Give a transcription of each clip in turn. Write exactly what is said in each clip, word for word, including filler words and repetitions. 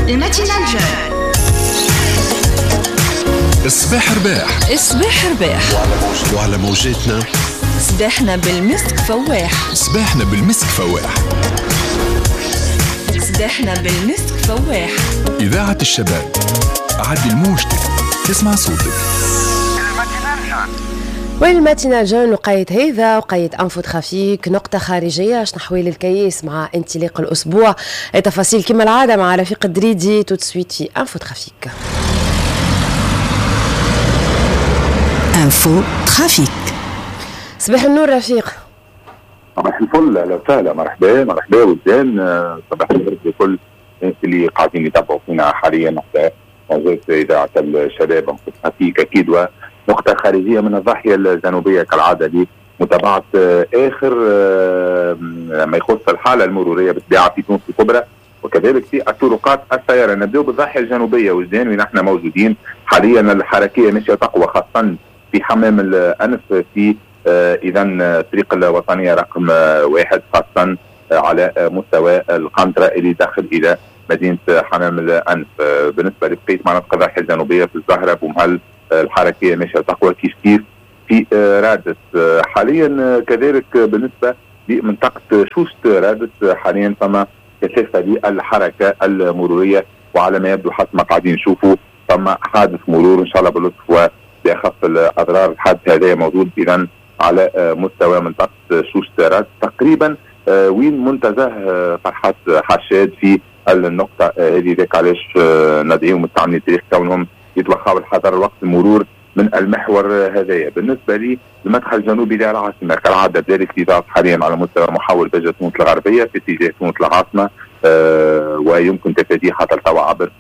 ال matinale jeune. الصباح رباح. الصباح رباح وعلى موجاتنا صباحنا بالمسك فواح. صباحنا بالمسك فواح. صباحنا بالمسك فواح. إذاعة الشباب، عدل موجتك تسمع صوتك. وال matinale jeune وقيت هذا وقيت info trafic، نقطة خارجية شنحوال الكياس مع انطلاق الأسبوع. التفاصيل كما العادة مع رفيق الدريدي tout de suite في info trafic. info trafic. صباح النور رفيق. صباح الفل، اهلا وسهلا، مرحبا مرحبا وزين. صباح الخير لكل الناس اللي قاعدين يتابعوا فينا حاليا على موجات اذاعة الشباب. info trafic اكيد ونقطة خارجية من الضاحية الجنوبية كالعادة لمتابعة اخر ما يخص الحالة المرورية بالطبيعة في تونس الكبرى وكذلك في الطرقات السيارة. نبداو بالضاحيه الجنوبية وزين وين احنا موجودين حاليا. الحركية ماشية تقوى خاصة في حمام الانف في اذا الطريق الوطنية رقم واحد، خاصة على مستوى القنطرة اللي داخل الى مدينة حمام الانف. بالنسبة لبقية مناطق الضاحية الجنوبية في الزهرة بومهل الحركية ماشية تقوى كيف كيف في رادس حاليا. كذلك بالنسبة لمنطقه شوشت رادس حاليا فما كثافة للحركة المرورية، وعلى ما يبدو حسب ما قاعدين نشوفوا فما حادث مرور ان شاء الله باللطف و باخف الاضرار. الحادث هذا موجود اذا على مستوى منطقة شوشترات تقريبا وين منتزه فرحات حشاد في النقطة هذه. ذاك علاش ندعيهم مستعملي الطريق كونهم يتوخاو الحذر وقت المرور من المحور هذايا. بالنسبة لي المدخل الجنوبي للعاصمه كالعادة بدا الاكتظاظ حاليا على مستوى محول بجة تونس الغربية في اتجاه تونس العاصمة، ويمكن تفاديه حتى التوا عبر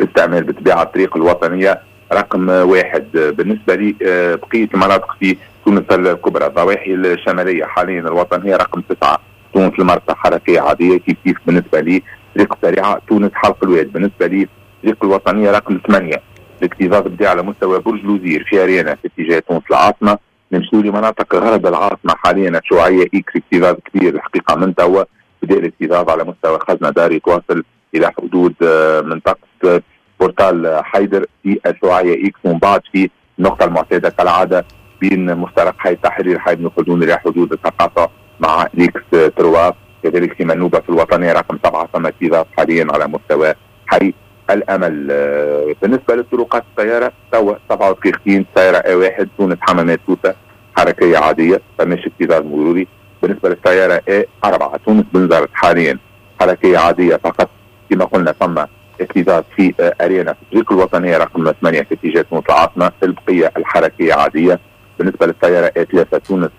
استعمال بالطبيعة الطريق الوطنية رقم واحد. بالنسبة لي بقية المناطق في تونس الكبرى الضواحي الشمالية حاليا الوطنية رقم تسعة تونس المرسى حركية عادية كيف كيف. بالنسبة لي طريق سريعة تونس حلق الواد. بالنسبة لي طريق الوطنية رقم ثمانية الاكتظاظ بدا على مستوى برج لوزير في أريانا في اتجاه تونس العاصمة. نمشيو لمناطق غرب العاصمة حاليا الشعاعية إكس اكتظاظ كبير الحقيقة من توا بدا الاكتظاظ على مستوى خزنة دار يتواصل إلى حدود منطقة portail حيدر في الشعاعية إكس، ومن بعد في النقطة المعتادة كالعادة بين مفترق حي التحرير حي بن خلدون إلى حدود التقاطع مع l'axe trois. كذلك في منوبة في الوطنية رقم سبعة ثم اكتظاظ حاليا على مستوى حي الأمل. بالنسبة للطرقات السيارة توا سبعة ودقيقتين سيارة A واحد تونس حمامات سوسة حركية عادية فماش اكتظاظ مروري. بالنسبة للسيارة A أربعة تونس بنزرت حاليا حركية عادية فقط كما قلنا ثم اكتظاظ في أريانا في الطريق الوطنية رقم ثمانية في اتجاه تونس العاصمة، البقية الحركية عادية. بالنسبة للسيارة A ثلاثة تونس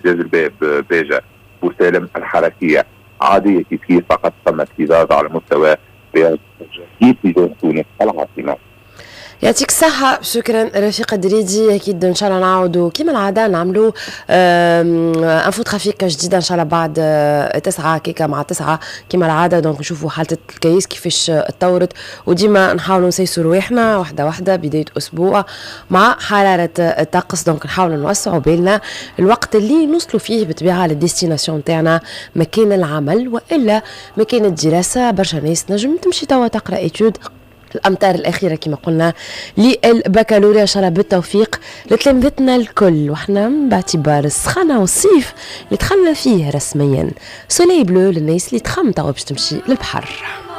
جاز الباب باجة بوسالم الحركية عادية كيف كيف فقط ثم اكتظاظ على مستوى في اتجاه تونس العاصمة. يعطيك الصحة، شكرا رفيق الدريدي. أكيد إن شاء الله نعاودوا كما العادة نعملوا info trafic جديدة إن شاء الله بعد تسعة كيكا مع تسعة كما العادة. donc نشوفوا حالة الكيس كيفاش تطورت، وديما نحاولوا نسيسوا رواحنا واحدة واحدة بداية أسبوع مع حرارة الطقس. donc نحاولوا نوسعوا بالنا الوقت اللي نوصلوا فيه بالطبيعة لل destination تاعنا، مكان العمل وإلا مكان الدراسة. برشا ناس نجم تمشي توا تقرأ études الأمتار الأخيرة كما قلنا للبكالوريا. إن شاء الله بالتوفيق لتلامذتنا الكل، وحنا باعتبار السخانة والصيف اللي دخلنا فيه رسميا soleil bleu للناس اللي تخمم توا باش تمشي للبحر.